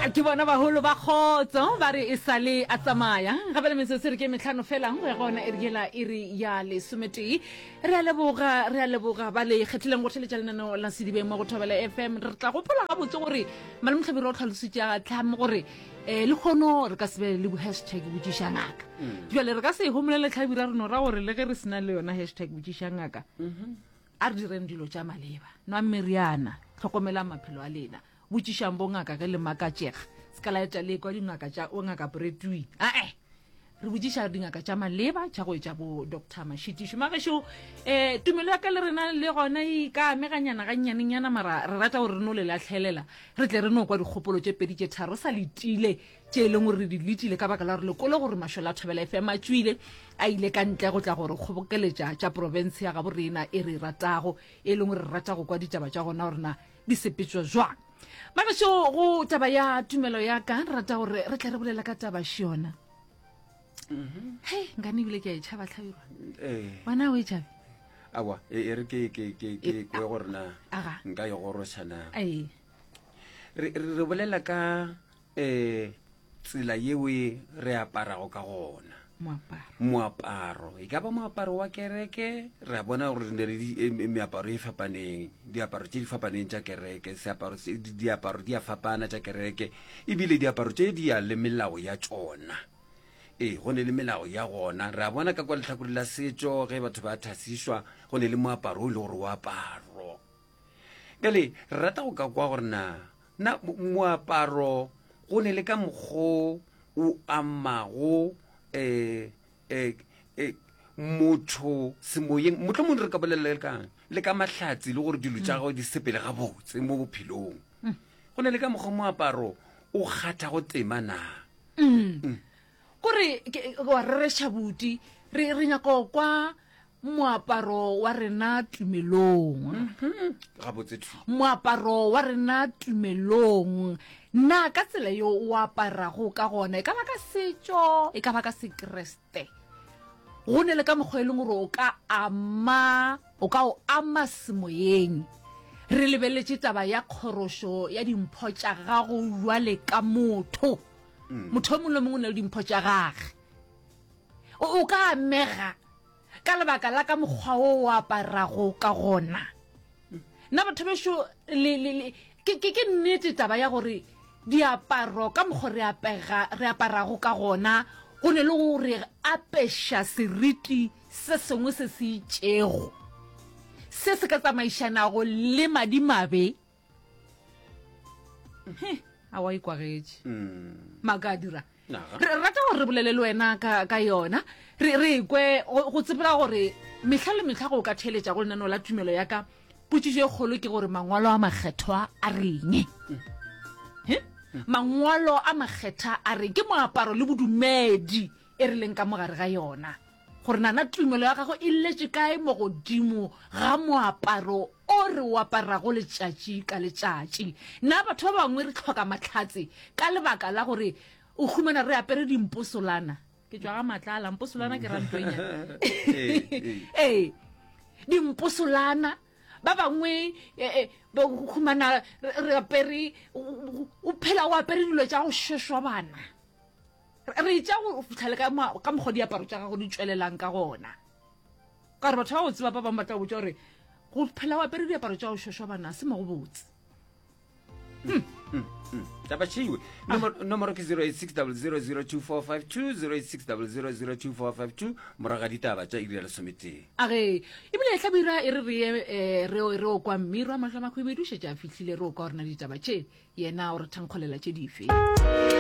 Ke bona bagolo ba kgotso ba re e sale a tsamaya gape le metsotso re ke metlhano fela go ya gona e re yela e re ya lesometee. Re a leboga, re a leboga ba le kgethileng go theletša lenaneo la Sedibeng mo go Thobela FM. Re tla gopola gabotse gore Malome Hlabirwa o tlhalositše a tlhame gore um le kgono re ka se be le hashtag botšiša ngaka. Mm. Jale re ka se e homolele Hlabirwa re no ra gore le ge re sena le yona hashtag botšiša ngaka mm-hmm. a re direng dilo tša maleba. Nwang meriana, hlokomelang maphelo a lena. Botšišang bongaka ge le makatšega. Se ka la etša le ekwa dingaka tša o ngaka Bretui. Ae! Re botšiša dingaka tša maleba tša go etša bo Doctor Mashitišo. Magešo, eh, tumelo ya ka le rena le gona e ka ameganyana gannyanenyana mara re rata gore re no le lahlelela re tle re no kwa dikgopolo tše pedi tše tharo sa letile tše e leng gore re di letile ka baka la gore le kole gore mašole a Thobela FM a tšwile a ile ka ntle go tla gore kgobokeletša tša profense ya gabo rena e re e ratago e leng gore re rata go kwa ditaba tša gona gore na di sepetšwa jwang. Magešo, go taba ya tumelo ya ka, re rata gore re tle re bolela ka taba šiona. Mm-hmm. Hei, nkane ebile ke a e tšhaba tlhabirwa. Eh. Wena o e tšhabe? Awa, e, e re ke ke ke ke e, kwe gore na nka e goroša na. Ee. Re re bolela ka eh tsela yeo e re aparago ka gona. Moaparo. Moaparo. E ka ba moaparo wa kereke, re a bona gore re ne le e, e, meaparo e fapaneng, diaparo tše di fapaneng tša kereke, seaparo se, diaparo di a fapana tša kereke, ebile diaparo tše di ya le melao ya tšona. Ee, go ne le melao ya gona. Re a bona ka kwa lehlakore la setšo, ge batho ba thasišwa, go ne le moaparo o e le gore o aparo. Bjale, re rata go ka kwa gore na, na moaparo go ne le ka mokgo o amago um um um motho semoyeng, mohlomong re ka bolela le kang, le ka mahlatsi le gore dilo tša gagwe di sepele gabotse mo bophelong. Go ne le ka mokgwa moaparo o kgathago tema na? Kore wa rereša buti, re re nyaka go kwa moaparo wa rena tumelong. Mhm. Gabotse thwi. Moaparo wa rena tumelong. Na ka tsela yo o aparago ka gona, e ka ba ka setšo, e ka ba ka Sekriste, go ne le ka mokgwa e leng gore o ka ama, o ka o ama semoyeng. Re lebeletše taba ya kgorošo ya dimpho tša gago bjale ka motho. Mm. Motho yo mongwe le mongwe o na le dimpho tša gage. O, o ka amega ka lebaka la ka mokgwa wo o aparago ka gona. Nna batho bešo le, le, le, ke, ke, ke nnete taba ya gore diaparo ka mokgwa re apega, re aparago ka gona go ne le go re apeša seriti se sengwe se se itšego se se ka tsamaišanago le madimabe. He, a wa ikwagetše. Mm. Maaka a dira. Naga. Re rata gore re bolele le wena ka, ka yona. Re, re kwe go, go tsebela gore mehla le mehla go ka theeletša go lenaneo la tumelo ya ka, potšišo e kgolo ke gore mangwalo a makgethwa a reng? He? Mangwalo a makgetha a reng? Ke moaparo le bodumedi e re leng ka mogare ga yona. Gore nana tumelo ya gago e letše kae mo godimo ga moaparo o re o aparago letšatši ka letšatši. Na batho ba bangwe re hloka mahlatse ka lebaka la gore o humana re apere dimposolana? Ke tšwa ga Matlala, mposolana ke ra ntho e nyane. Ee, dimposolana. Ba bangwe ba humana re apere, o phela o apere dilo tša go šošobana. Re etša go fihla le ka ka mokgwa diaparo tša gago di tšwelelang ka gona. Ka gore batho ba go tseba ba bangwe ba tla go botša gore go phela o apere diaparo tša go šošobana se mo go botse. Hmm. Hmm, hmm. Taba tšeiwe. Nomoro ke 0860002452 0860002452 morago ga ditaba tša iri ya lesometee. A ge ebile e hlabira e re re ye eh, re re o kwa mmiro a mahlo a makhwibidu šetše a fihlile re o kwa gore na ditaba tše yena o re thankgolela tše dife.